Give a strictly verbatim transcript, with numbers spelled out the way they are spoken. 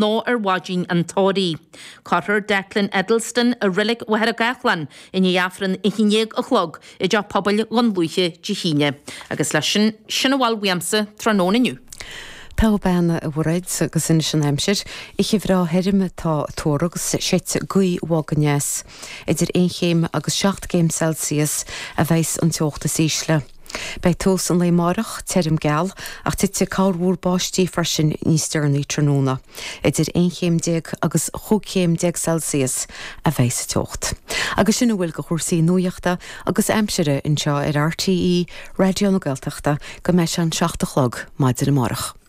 nó ar mhaidin an tórraimh. Cuirfear Declan Edelsten i Reilig Mhachaire Gathlán i ndiaidh Aifreann a haon déag a chlog i dTeach Pobail Dhún Lúiche Dé hAoine. Agus leis sin sin a bhfuil uaimse tráthnóna inniu. Tá bean a bhréid agus anois an aimsir, oíche bhreá thirim atá á tuar agus séidfidh gaoth bhog aneas. Idir aon chéim agus seacht gcéim Celsius a bheas an teocht is ísle. Beidh tús an lae amárach tirim geal ach titfidh corrmhúr báistí freisin níos deireanaí tráthnóna. Idir aon chéim déag agus chúig chéim déag Celsius a bheidh sa teocht. Agus sin a bhfuil de chúrsaí nuachta agus aimsire anseo ar RTÉ Raidió na Gaeltachta go mbeidh sé an seacht a chlog maidin amárach.